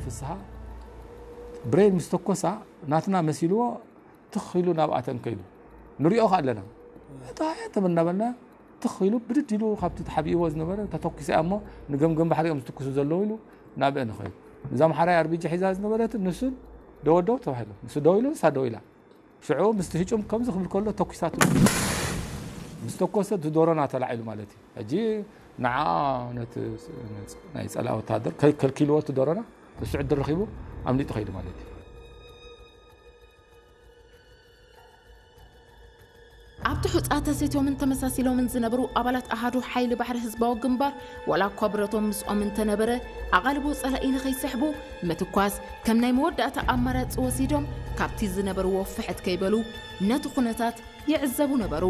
ፍስሃ ብሬን ምስ ተኮሳ ናትና መሲልዎ ትኽ ኢሉ ናብኣተን ከይዱ ንሪኦ ከ ኣለና። እታ ተመናበልና ትኽ ኢሉ ብድድ ኢሉ ካብቲ ተሓቢእዎ ዝነበረ ተተኩሰ እሞ ንገምገም ባሕሪ እዮም ዝትኩሱ ዘለዉ ኢሉ ናብአ ንኸይዱ። እዛ ኣምሓራይ ኣርቢጂ ሒዛ ዝነበረት ንሱን ደወደው ተባሂሉ። ንሱ ደው ኢሉ ንሳ ደው ኢላ። ሽዑ ምስቲ ህጩም ከምዚ ክብል ከሎ ተኩሳቱ። ምስ ተኮሰ እቲ ዶሮና ተላዒሉ ማለት እዩ። ሕጂ ንዓ ነቲ ናይ ጸላኢ ወታደር ከልኪልዎ እቲ ዶሮና እሱ ዕድል ረኺቡ ኣምሊጡ ከይዱ ማለት እዩ። ኣብቲ ሑጻ ተሰትዮምን ተመሳሲሎምን ዝነበሩ ኣባላት ኣሃዱ ሓይሊ ባሕሪ ህዝባዊ ግንባር ዋላ እኳ ብረቶም ምስኦም እንተነበረ ኣቓልቦ ጸላኢ ንኸይስሕቡ ምትኳስ ከም ናይ መወዳእታ ኣማራጺ ወሲዶም ካብቲ ዝነበርዎ ፍሕት ከይበሉ ነቲ ኩነታት ይዕዘቡ ነበሩ።